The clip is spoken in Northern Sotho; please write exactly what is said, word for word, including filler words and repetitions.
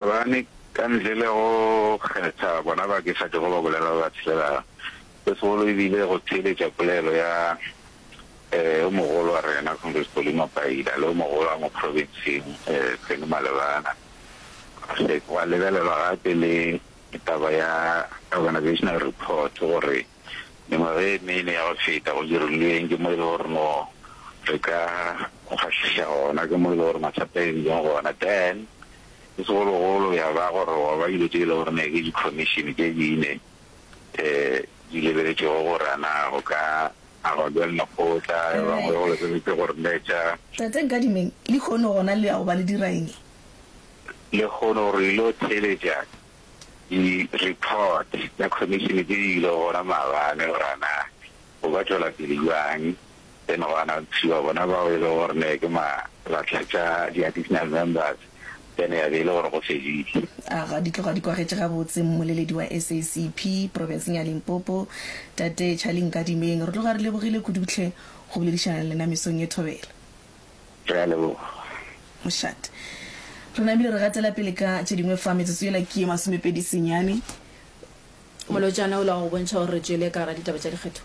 Gobane ka ntle le go kgetha bona ba ke sa tšogo ba bolela ba ba tshelelago, se segolo e bile go theeletša polelo ya yo mogolo wa rena Congress Pauline Mapaila le yo mogolo wa mo profenseng Penny Malebana. Gwa lebelelwa gape le taba ya organisational report gore mengwaga e mene ya go feta go dirilweng, ke mo e le gore no re ka kgahliša gona, ke mo e le gore mathata e bileng gona. Then se segologolo ya ba gore gwa ba dilo tše e le gore ne ke di-commission tše dine um di lebeletšego gore a na go ka agwa bjang lekgotla, ba bangwe go lebeletše gore ne tša Tate Nkadimeng, lehono gona le ya go ba le dira eng? Lehono re ilo theeletša di-report tša commission tše di ilego gona maabane gore a na go ka tšwela pele bjang, then gwa announce-iwa bona bao e lego gore ne ke ma batlatša di-additional members, then ya be e le gore go fedile. Aga, di tloga di kwagetše gabotse, mmoleledi wa S A C P profenseng ya Limpopo, Tate Charlie Nkadimeng. Re tloga re lebogile kudu hle go boledišana le lena mesong ye, thobela. Re a leboga. Mošate. Re namile re gatela pele ka tše dingwe fa, metsotso yela ke ye masomepedi senyane. Molotšana o la go bontšha gore re tšwele ka gara ditaba tša dikgetho.